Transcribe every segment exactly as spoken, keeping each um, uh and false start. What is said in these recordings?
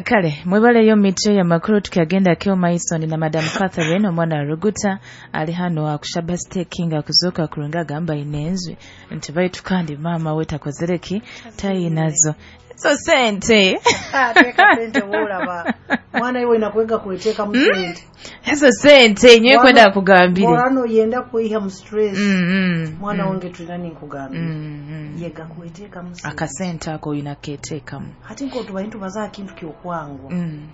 Kale mwebaleyo mitwe ya makuru tukiagenda keo Mason na Madam Catherine omwana Ruguta ali hano akushaba staking akuzoka kurunga gamba inenzwe nti baitu kandi mama we takozereki tayinazo so sente ah teka sente wolaba mwana iwe inakwega kueteka mu sente ezo sente nyewe kwenda kugambire mwana yenda kuiha mu stress mm, mm, mwana mm. wange tulani nkugambire mm, mm. yega kueteka mu sente akasente ako inaketeka mu hati nko tubaintu bazaa kintu kyokwangwa mm.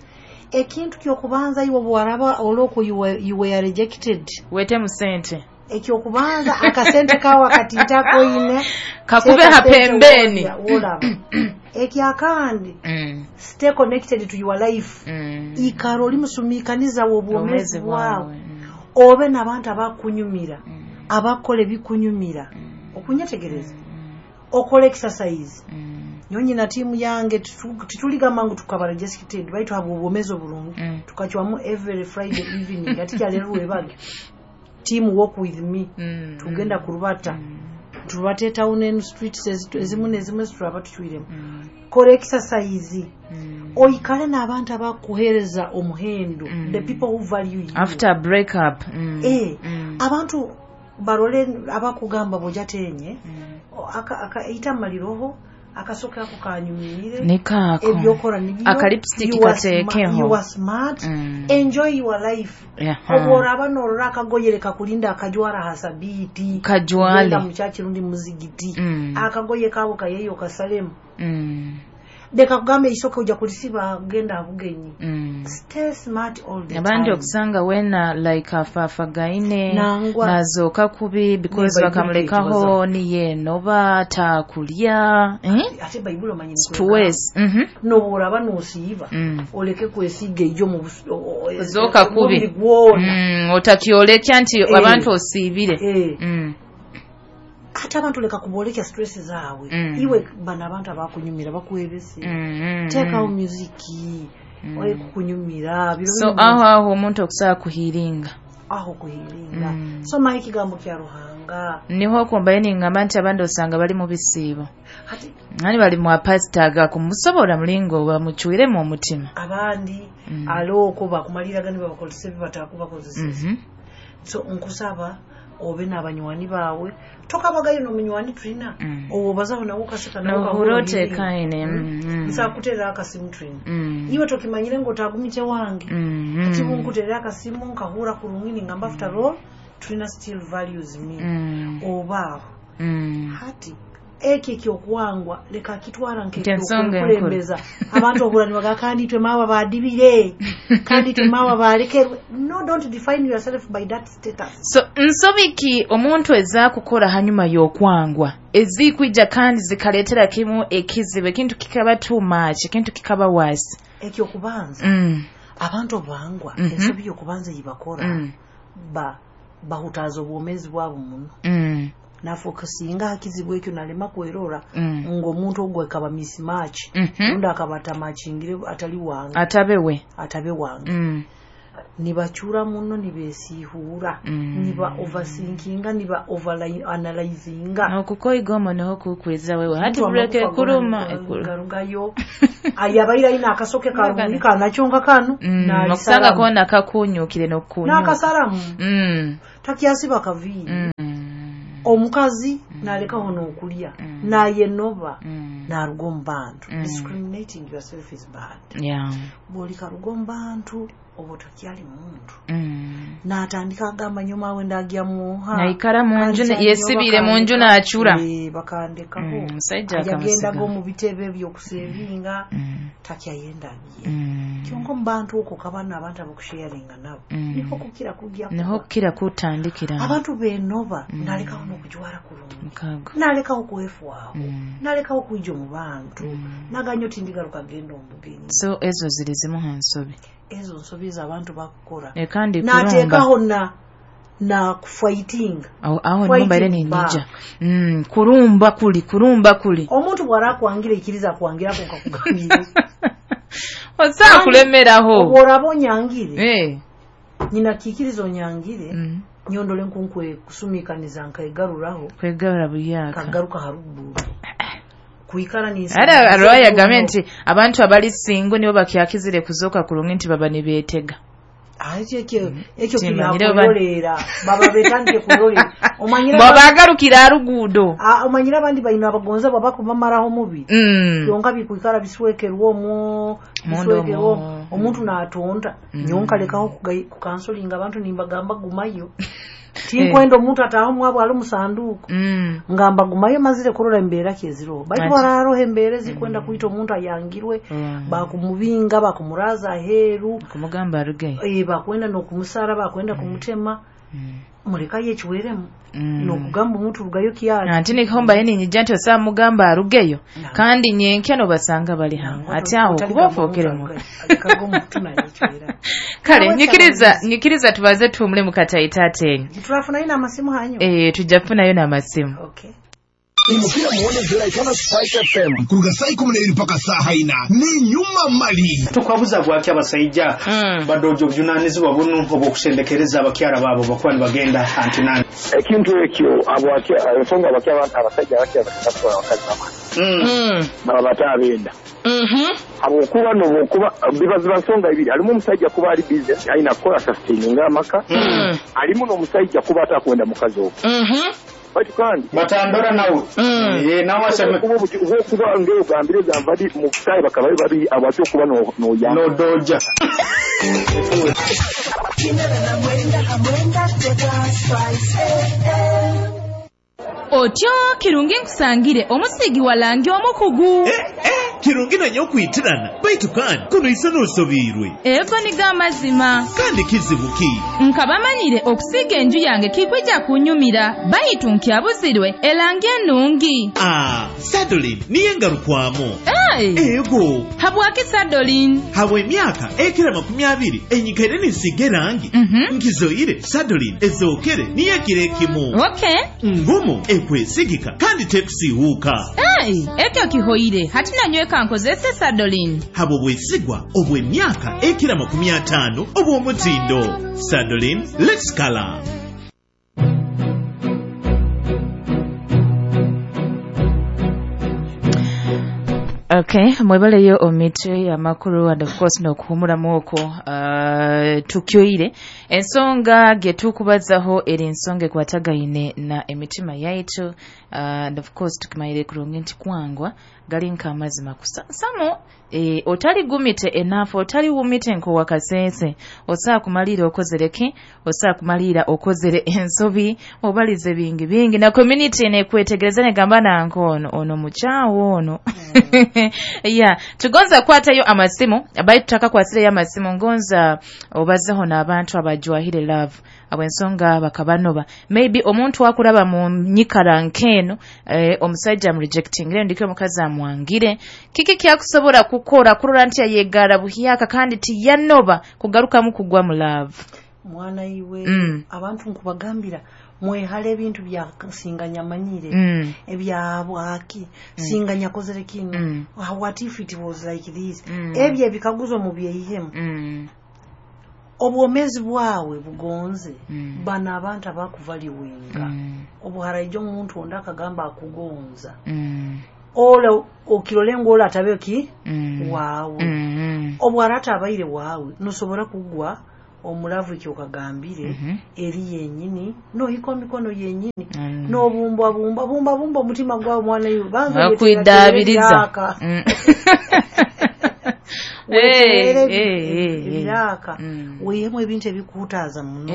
ekintu kyokubanza iwe bwaraba oloko you were, you were rejected wete mu sente ekyokubanza akasente kawa katitako ine kakube hapembeni wolaba ekyakandi mm. stay connected to your life mm. ikaro limusumikaniza obwomezi bwawe mm. obe n'abantu abakunyumira mm. abakola ebikunyumira mm. okunyetegereza mm. okola exercise mm. nyonyi na tiimu yange tituligamba ngu tukaba rejected baitu habwa obwomezi obulungi mm. tukacwamu every Friday evening ati kyaleero lwebage team walk with me mm. tugenda kurubata mm. turubate town and streets ezimu nezimu turaba tucwiremu mm. kola exercise mm. oikale n'abantu abakuhereza omuhendo mm. the people who value you after a break up mm. eh mm. abantu barole abakugamba bojatenye mm. aka aka itamaliro akasoke ako kanyumire nikaako ebyokora nibyo aka lipstick You are kateekeho. sma- you are smart Mm. enjoy your life Aha. obworaba norora akagoyere kakulinda akajwara hasabiiti Kajwale. Genda mu kyaki rundi muzigiti Mm. akagoye kaabo kayeyo kasalemu Mm. leka kugamba eisoke ojja kulisiba genda abugenyi Mm. stay smart all the abandi time okusanga wena like afaafagaine Nangwa. nazooka kubi because Ne Baibuli bakamulekaho niyenoba takulya eh? ate bayibuli omanyi stress mhm nobworaba nosiiba Mm. oleke kwesiiga ejo mu bus- o- o- zooka kubi omubiri gwona Mm, otakyolekya nti Eh. abantu osiibire Eh. Mm. ate abantu leka kubolekya stress zaabwe Mm. iwe bano abantu abakunyumira bakwebese Mm, mm, teekawo mm. musiki oye kukunyumira biro so bino aho aho omuntu okusobola kuhiringa aho kuhiringa Mm. somayo ekigambo kya Ruhanga niho okumbaye ningamba nti abandi osanga bali mu bisiibo ate ani bali mu apasita agakumusobola mulingo bamucwiremu omutima abandi Mm. alooko bakumaliraga ne babakozesa ebibatakubakozesa Mhm. so nkusaba obe n'abanywani baawe tokabagayo n'omunywani tulina Mm. obwo obazaho nawe okaseka Nohura otekaine mm, mm. nsakuteera akasimu tulina Mm. iwe tokimanyire ng'otagumite wange Mm, mm. ati bunkuteera akasimu nkahura kurungi ningamba after all tulina still values me Mm. oba aho Mm. hati ekyo ekyokuwangwa leka akitwala Nti ensonga nk'ekyokulembeza abantu obula nibaga kandi itwe maawa badibire kandi itwe maawa balekerwe no don't define yourself by that status so nsobi ki omuntu ezaakukola hanyuma y'okwangwa ezikwija kandi zikaleetera kimu ekizibu ekintu kikaba too much ekintu kikaba wasi ekyokubanza mm. abantu obangwa Mhm. ensobi yokubanza yibakora Mm. ba bahutaaza obwomezi bwabo muno Mm. nafokasinga hakizibu ekyo nalema kwerora Mm. ng'omuntu ogwo akaba mismatch Mhm. rundi akaba atamachingire atali wange atabe we atabe wange mm. nibacura muno nibesiihuura Mm. niba overthinkinga niba overanalyzinga okukoiga omwo niho kukwiza wewe hati Omuntu buleke amagufa ekuluma gona ekulu garugayo ayabaire ayina akasoke karungi kanakyonka kano Mm, okusanga nalisalamu kona kakunyukire nokukunyuka n'akasalamu mm. takyasiba kaviiri mm. omukazi nalekaho n'okulya Mm. nayenoba Mm. naruga omu bantu Mm. discriminating yourself is bad yeah. bw'olikaruga omu bantu oba otakyali muntu mm. n'atandika agamba nyuma ndagya muha Naikara mu nju ne- Kansa yesibire nnyo mu nju bakandeka. n'acura. Eh, bakandekaho Mm, omusajja ajagendaga akamusiga. omu bitebe ebyokusevinga Mm. takyayendagye Mm. kyonka omu bantu okwo kabana abantu abakusharinga nabo Mm. niho kukira kujja niho kuba. kukira kutandikira abantu benoba Mm. nalekaho n'okujwara kurungi mukago nalekaho kwefwaho Mm. nalekaho kwija omu bantu Mm. naganyo tindigaruka genda omubugenyi so ezo ziri zimu ha nsobi ezo nsobi ez'abantu bakukora ekandi kulumba nateekaho na na kufightinga aho aho Fighting nimbaire back. ninyija mm, kurumba kuli kurumba kuli omuntu bw'arakwangira ikiriza akwangirako nkakugambire osaa kulemeraho obworaba onyangire Eh, nyina kiikiriza onyangire mm, nyondole nkunkwe kusumikaniza nkegaruraho kwegarura buyaka kagaruka haruguru Kuikara ni Ara arwaya gamenti abantu abali single nibo bakyakizire kuzoka kurungi nti baba nibetega. Ah, ekyo ekyo ekyo kirolera baba betandike kurolera omanyira baba agarukira arugudo. Ah, omanyira abandi bayina abagonza baba kubamaraho mubi mm. Byonka bikuikara biswekerwa omwo biswekerwa omuntu natonda mm. Nyonka lekaho kukansolinga abantu nimbagamba gumayo tinkwenda omuntu ataho mwabo ali musanduko mm. Ngamba gumayo mazire kurora embera keziro baitu bararo embere zikwenda mm. Kuita omuntu ayangirwe mm. Bakumubinga bakumuraza aheru kumugamba aruge eh bakwenda nokumusara bakwenda mm. Kumutema mm. Muleka yechiweremu mm. Nokugamba omuntu rugayo kiyali anti nikomba yeni nyija nti mugamba arugeyo no. Kandi nyenkya no basanga bali hamwe ati aho kubafokere mu kale nyikiriza nyikiriza tubaze tumule mukataita tenyu turafuna ina amasimu hanyu eh tujafuna yo na amasimu okay. Imukira muone zera ikana Spice F M kuruga saa ikumi n'ebiri paka saa ina ni nyuma mali tukwabuza bwaki abasajja mm. Badojo obuvunanyizibwa buno obw'okusendekereza abakyala baabo bakuba nibagenda antinani ekintu ekyo abwaki ensonga abakyala abasajja abakyala bakatwala abakazi baba mm. Baba batabenda mhm habwokuba n'obwokuba bibaziba nsonga ibiri alimu omusajja kuba ali busy alina kukola sustaining amaka mm. Alimu n'omusajja kuba atakwenda mukazi ogwo mhm baitu kandi batandora nawe mm. Eh nawe aseme kuba kuba ngeo gambire gambadi mu kutayi bakabaye babi abacho kuba no no ya no doja Otyo kirungi nkusangire omusigi walangi omukugu eh, eh, kirungi nanyo okwitirana baitu kandi kuno isano osobirwe ego niga amazima kandi kizibu ki nkabamanyire okusiga enju yange kikwija kunyumira baitu nkyabuzirwe elangi ennungi ah, Sadolin niye ngarukwamu hey. Ego habwaki Sadolin habwa emyaka ekira makumi abiri enyikaire ninsiga erangi mm -hmm. nkizoire Sadolin ezookere niyo ekiro ekimu okay. Ngumu ekwesigika kandi tekusiiwuuka hey, ekyo kihoire hati nanyweka nkozese Sadolin habwo bwesigwa obw'emyaka ekira makumi ataano obw'omutindo. Sadolin, let's color. Okay, mwebaleyo omitwe amakuru and of course nokuhumuramu okwo uh, tukyoire ensonga getukubazaho eri ensonga ekwatagaine na emitima yaitu uh, and of course tukimayire kurungi nti kwangwa gali nk'amazima kusansamu e, otali gumite enough otali wumite nko wakasese osaa kumalira okozereki osaa kumalira okozere ensobi obalize bingi bingi na community nekwetegereza negamba nanko ono ono muchawo ono mm. Yeah, tugonza kwatayo amasimu abayi tutaka kwasire ya amasimu ngonza obazeho n'abantu abajwahire love abensonga bakabanoba maybe omuntu akuraba mu nyikara nkeno eh, omusajja am rejecting rero ndikyo omukazi amwangire kiki kyakusobola kukora kurora nti ayegara buhyaka kandi tiyanoba kugarukamu kugwa mu love mwana iwe mm. Abantu nkubagambira mwehale ebintu bya singanya manyire mm. Ebya bwaki mm. Singanya kozere kino mm. What if it was like this mm. Ebye bikaguzo mu byeyihemu mm. Obwomezi bwawe bugonze mm. Bana abantu abakuvaliwenga mm. Obuharaijo omuntu onda akagamba akugonza mm. Ole okirolengo ola atabe ki mm. Wawe mm. Obwarata abaire wawe nosobora kugwa omulavu ekyo kagambire mm -hmm. Eri yenyini no hiko mikono yenyini mm. No bumba bumba bumba bumba omutima gwawe mwana iwe banza kwidabiriza mm. Ebiraka weyemu ebintu ebikuutaaza muno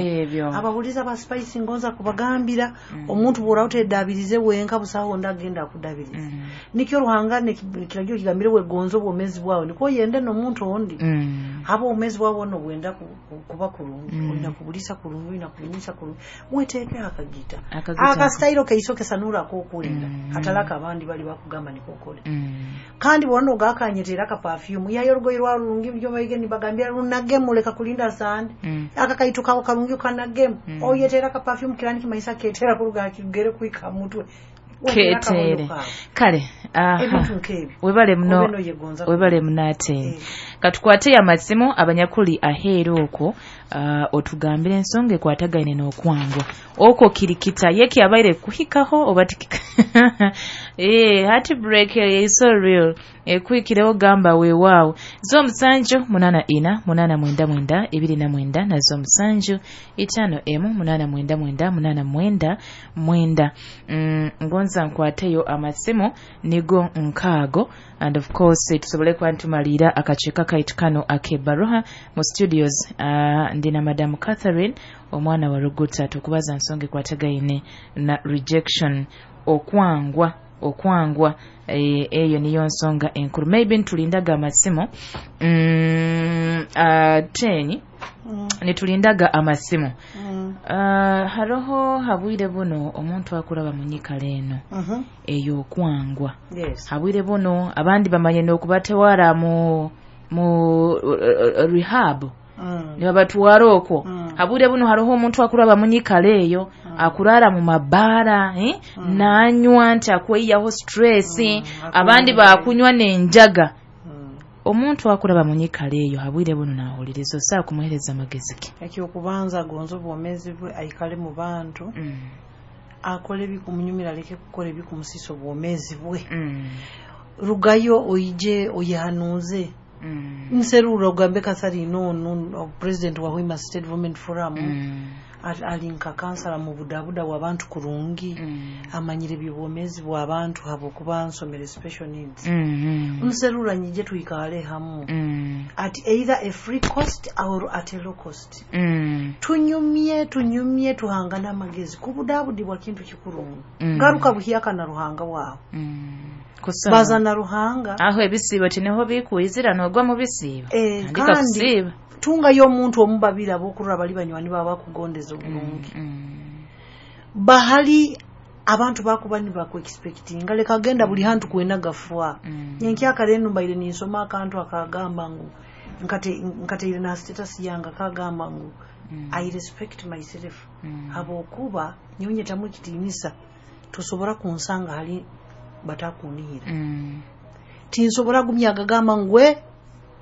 ababuliza ba Spice ngonza kubagambira omuntu bw'orawo tedabirize wenka busaho ndagenda akudabiriza nikyo Ruhanga nekiragiro kigambire wegonza obwomezi bwawe niko yende n'omuntu ondi haba obwomezi bwawe ono bwenda kuba kurungi olina kubulisa kurungi olina kubinyisa kurungi weteeke akagita akasitayiro keisoke sanura akokulinda atalaka abandi bali bakugamba niko okole kandi bwona ogakanyetera aka perfume yayo orugoye rwarungi byo bayige nibagambira runagemu leka kulinda sande mm. Aka kaitu kawo karungi kanagemu mm. Oyetera ka perfume kirani kimaisa ketera kuruga kigere kuika mutwe ketere kale aha webale muno webale munate eh. Katukwate amasimu abanyakuli aheero okwo uh, otugambire ensonga ekwatagaine n'okwangwa okwo kirikita yeki abaire kuhikaho oba tikika eh heartbreak is so real ekwikireho gamba weewaawo zo musanju munana ina munana mwenda mwenda ebiri na mwenda na zo musanju itano emu munana mwenda mwenda munana mwenda mwenda. Mm, ngonza nkwateyo amasimu nigo nkaago and of course tusobole kuba ntumalira akakiiko kaitu kano ak'ebbaluha mu studios. uh, ndina Madam Catherine omwana wa Ruguta tukubaza nsonga ekwatagaine na rejection, okwangwa okwangwa eyo niyo nsonga enkulu. Maybe ntulindaga amasimu mm, uh, tenyi mm. nitulindaga amasimu mm. uh, haroho habwire buno omuntu akulaba munyikala eno mm -hmm. eyo okwangwa. Yes. Habwire buno abandi bamanye n'okubatewara mu mu uh, uh, rehab mm. nibabatwara okwo mm. habwire buno haroho omuntu akulaba munyikala eyo mm. akurara mu mabara eh? mm. nanywa nti akweyaho stress mm. abandi bakunywa n'enjaga mm. omuntu akulaba munyikala eyo habwire buno nahuliriza osaa kumuhereza amagezi ki? Ekyokubanza gonza obwomezi bwe aikale mu bantu mm. akole ebikumunyumira aleke kukola ebikumusisa obwomezi bwe mm. rugayo oije oyehanuze Mm. Nserura ogambe Catherine no president wa Hoima State Development Forum mm. alinka kansala mu budabuda w'abantu kurungi mm. amanyire by'obwomezi bw'abantu habo kuba nsomere special needs mm -hmm. Nserura nyije tuikale hamu mm. at either a free cost or at a low cost mm. tunyumye tunyumye tuhangana amagezi kubudabudi bwa kintu kikuru mm. garuka buhiyaka na ruhanga wawe mm. Bazana ruhanga aho ebisibo tineho bikuizira nogwa mu bisibo e, andika kusiba tunga yo omuntu omubabira abokurra bali banywani baba bakugondeza obulungi mm, mm. bahali abantu bakuba ni baku expecting leka genda buli hantu kwena gafwa mm. nyenkyaka reno mbaire ninsoma akantu akagamba ngu nkate nkate na status yanga kagamba ngu mm. I respect myself mm. habokuba nyonye tamu kitinisa tusobora kunsanga hali batakunihira mm. tinsobora gumya gagamba ngwe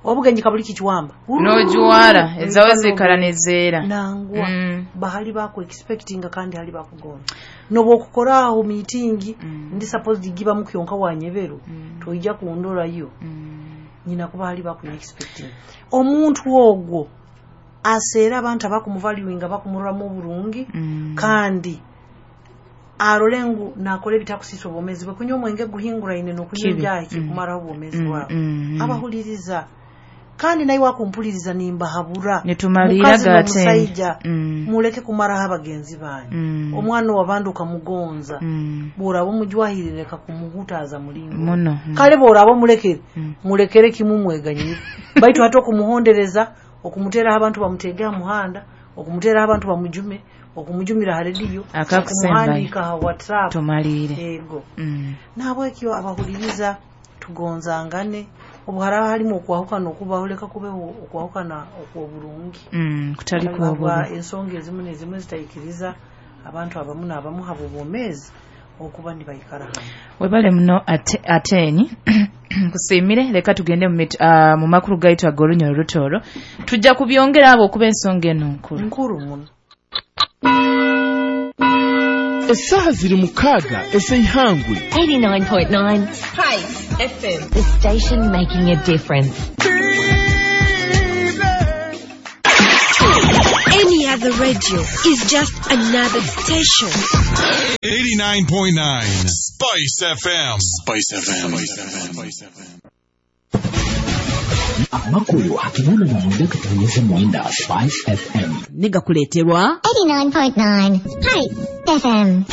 obugenyi kabuli kichwamba no juwara ezawe zikaranezera nangwa mm. bahali bako expecting kandi hali bakugona nobo kukoraho meeting mm. ndi supposed giba mukyonka wanyebero mm. toija kundora yo mm. nyina kuba hali bako expecting omuntu ogwo asera abantu abakumuvaluinga bakumuramo burungi mm. kandi arolengu nakole bitakusisa obwomezi bwe kunywa omwenge guhingura ine nokunywa ibyaha kikumaraho obwomezi bwawe mm. abahuliriza kandi naye wakumpuliriza nimbahabura nitumalira gate mm. muleke kumaraho abagenzi banyu mm. omwana wabandi ukamugonza mm. borabo mujwahirire kakumuhutaza mulingo muno mm. kale borabo mulekere mm. mulekere kimumweganyire baitu hata okumuhondereza okumutera abantu bamutegea muhanda okumutera abantu bamujume okumujumira ha radio akakusembayo ha WhatsApp tumalire ego mm. nabwekyo abahuliriza tugonzangane obuharaba harimo okwahukana okubahuleka kubeho okwahukana okwoburungi mm, kutali kuobubi ensonga ezimu n'ezimu zitayikiriza abantu abamu n'abamu habo bomezi okuba nibayikara hamwe. Webale muno ate, atenyi kusimire leka tugende mu uh, mu makulu gaitu ag'olunyoro rutoro tujja kubyongera abo okuba ensonga eno nkulu nkuru muno. Esaha ziri mukaaga ez'eihangwe eighty-nine point nine Spice F M, the station making a difference. Any other radio is just another station. eighty-nine point nine Spice F M. Spice F M. Spice F M. Amakulu akinana na mwenda katonyeze mwenda Spice F M. Negakuleterwa eighty-nine point nine Spice F M.